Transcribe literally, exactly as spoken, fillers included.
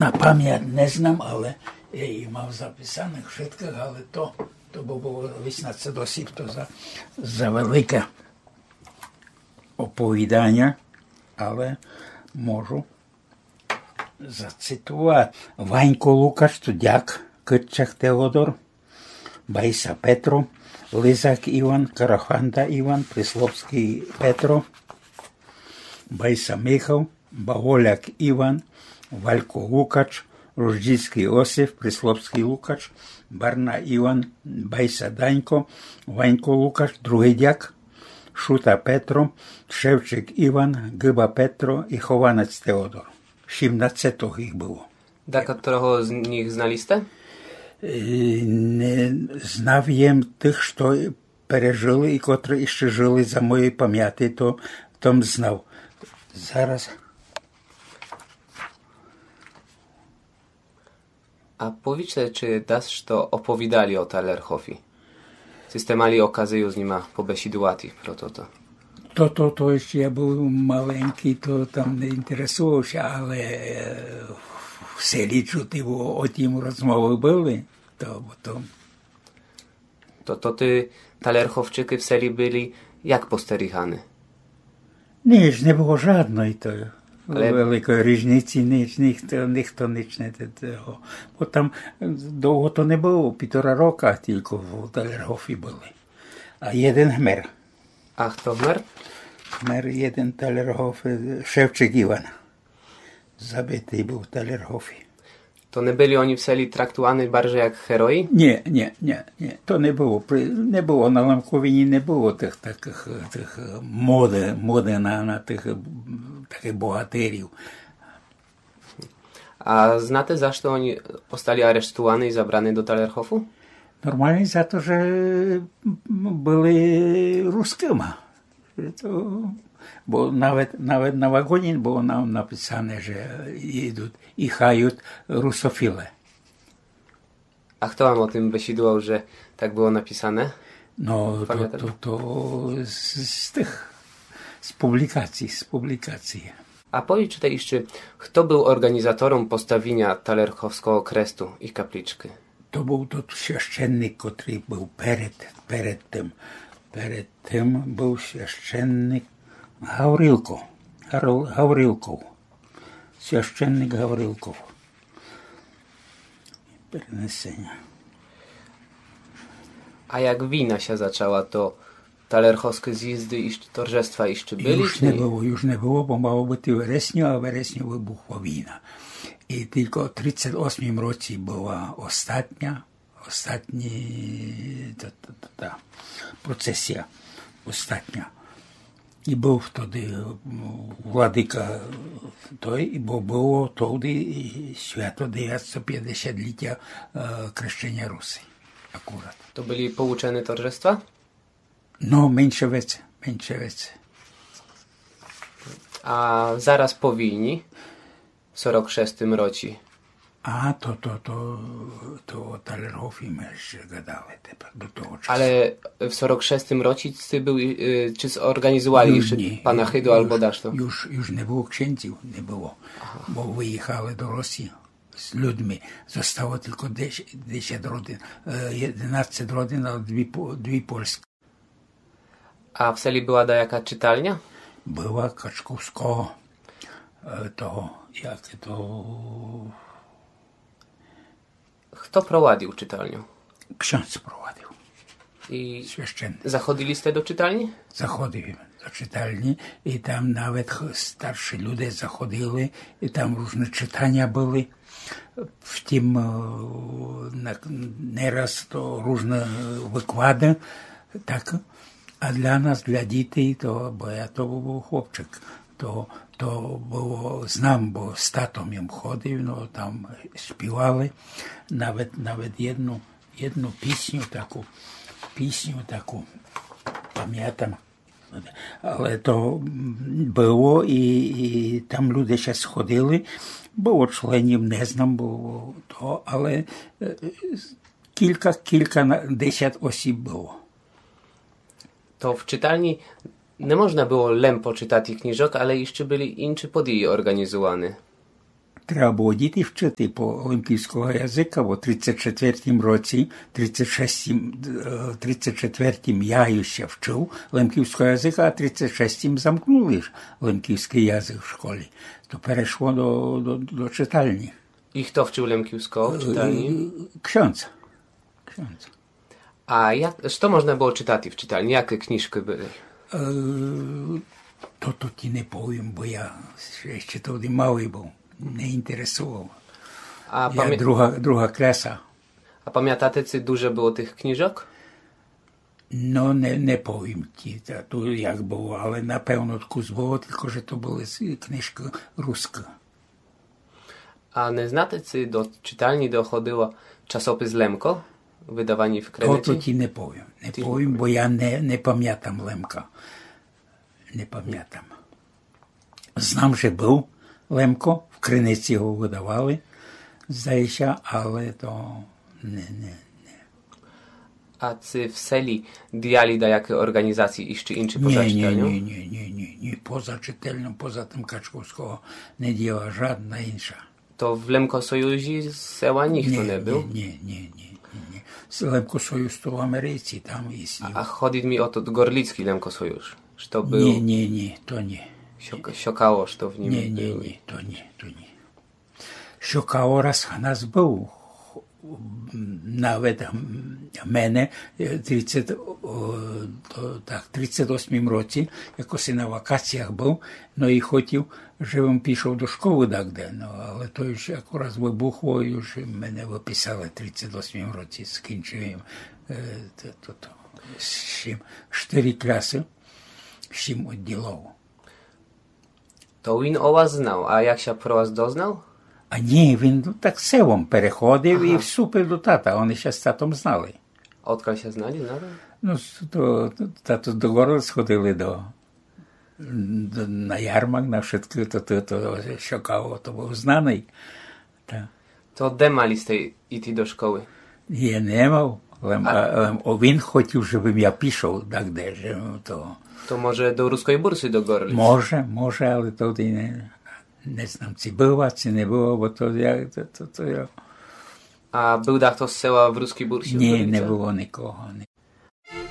На память не знам, але я їх мав записаных вшыткых, але то, то бы было вісімнадцять осіб, то за, за велике оповіданя, але можу зацитовати. Ванько Лукач, то дяк, Кытчак Теодор, Байса Петро, Лизак Іван, Караханда Іван, Прислопскый Петро, Байса Михал, Баголяк Іван, Валько Лукач, Руждзіцкый Осип, Прислопскый Лукач, Барна Іван, Байса Данько, Ванько Лукач, другый дяк, Шута Петро, Шевчик Іван, Гыба Петро і Хованець Теодор. Сімнадцетох їх было. Дакотрого з них знали сте? Е, не, знав єм тых, што пережыли і котры іщы жыли за моєй памяти, то, то м знав. Зараз. А повічте, ци дашто оповідали о Талерхофі? Ци сте мали оказию з нима побесідувати про тото? То, то, то іщы я быв маленькый, то там не інтересовав ся, але, е, в селі чути было, о тім розмовы были, то, то То, то тоты Талерховчыкы в селі были як постеріганы? Ніч, не было жадной то великой ріжниці, ніч, ніхто, ніхто ніч не те-, того. Бо там довго то не было, півтора рока тілько в Талерхофі были. А єден гмер. А хто гмер? Гмер єден Талерхоф, е, Шевчик Іван. Забитый быв в Талерхофі. То не были они в селі трактуваны баржей як герої? Ні, ні, ні, ні. То не было. При-, не было на Лемковині, не было тых такых, тых, е, моды, моды на, на тых, е, такых богатирів. А знате, за што они остали арештуваны і забраны до Талерхофу? Нормално за то, же, м, были рускыма. То, бо навет, навет на вагоні было на-, написане, же їдут, їхают русофілы. А хто вам о тым бесідував, же так было написане? Но, то, то, то з, з тых, з публікаций, з публікаций. А повічте іщы, хто быв орґанізатором поставіня Талерховского кресту і каплічкы? То быв тот священник, котрый быв перед, перед тым. Перед тым быв священник Гаврилко. Гаврил-, Гаврилков. Священник Гаврилков. Перенесеня. А як війна ся зачала, то Талерховскы зїзды і торжества іщы были, юж не было, юж не было, бо мало быти у вересню, а в вересню выбухла війна. І тілько в тридцять осмім році была остатня, остатня та, та, та, та процесія, остатня. І быв тоды, м, владика той, бо было тоды і свято девятсто пятдесятлітя, е, крещеня Руси. Акурат. То были получены торжества? Но, менше веце, менше веце. А зараз по війні, в сорок шестым році? А, то, то, то, то о Талерхофі мы іщы гадали тепер до того часу. Але в сорок шестым році ты быв, е, ци зорґанізували іщы панахыду або дашто? Юж, юж не было ксєндзів, не было. Ага. Бо выїхали до Росії з людми. Зостало тілько десять, десять родин, е, єденадцять родин, але дві по-, дві польскы. А в селі была даяка читальня? Была Качковского, е, того, як то... Хто провадив читальню? Ксьондз провадив. І священник. Заходили сте до читальні? Заходив до читальні, і там навет х-, старші люди заходили, і там ружны читаня были. Втім, е, на-, не раз то ружны выклады, так. А для нас, для дітей, то, бо я то быв хлопчик, то, то было, знам, бо з татом єм ходив, но, там співали, навет, навет єдну, єдну пісню таку, пісню таку памятам. Але то, м, было і, і там люди ся сходили, было членів, не знам, было то, але, е, кілька, кілька на-, десять осіб было. То в читальні не можна было лем почитати книжок, але іщы были інчы події орґанізуваны. Треба было діти вчыти по лемківского языка, бо в тридцять четвертім році, тридцять шестім, е, тридцять четвертім я іщи вчыв лемківского языка, а тридцять шестім замкнули ж лемківскый язык в школі. То перешло до, до, до читальні. І хто вчыв лемківского в читальні? Е, ксьондз. Ксьондз. А як, што можна было читати в читальні? Які книжкы были? Е, то, то ті не повім, бо я іщи тогды малый быв, не інтересовав. А, Я памя... друга, друга класа. а памятате, ци дуже было тых книжок? Но, не, не повім ті, та, то як было, але напевно кус было, тілько же то были з- книжкы рускы. А не знате, ци до читальні доходило часопис Лемко, выдавані в То, Криниці? то ті не повім. Не Ті повім, бо я не, не памятам Лемка. Не памятам. Знам, же быв Лемко, в Криниці го выдавали, здає ся, але то не, не, не. А ци в селі діяли даякі орґанізації іщи інші поза Ні, ні, читальню? Ні, ні, ні, ні, ні. Поза читальню, поза тым Качковского не діяла жадна інша. То в Лемкосоюзі з села ніхто не быв? Ні, ні, ні, ні, ні. Лемкосоюз то в Америці, там і А ходить мі о тот Горлицькый Лемкосоюз, што быв... Ні, ні, ні, то ні. Сьок... Сьокаło, што в нім... Ні, ні, ні, то ні, то ні. Сьокаło раз у нас быв, навет в мене, е, тридцять, о, то, так, тридцять восьмім році, якоси на вакаціях быв, но і хотів, жебым пішов до школы дагде, но, але то юж акурат выбухло, юж мене выписали тридцять восьмім році, скінчив им, е, то, то, то, сім, штыри класы, сім одділов. То він о вас знав, а як ся про вас дознав? А ні, він так селом переходив і вступив до тата, они ся з татом знали. Одкаль ся знали, знали? Ну, то, то, тато до Горлиць ходили до, до, на ярмарк, на вшыткы, то, то, то Сьокаło, то быв знаный. Та. То де мали сте іти до школы? Я не мав, лем, а, лем, о, він хотів, жебым я пішов дагде, же, ну, то... То може до Руской Бурсы, до Горлиць? Може, може, але тогды не, не знам, ци была, ци не была, бо то я, то, то, то я... А быв дахто з села в Руской Бурсы, в Ні, Горлицях? Не было нікого, не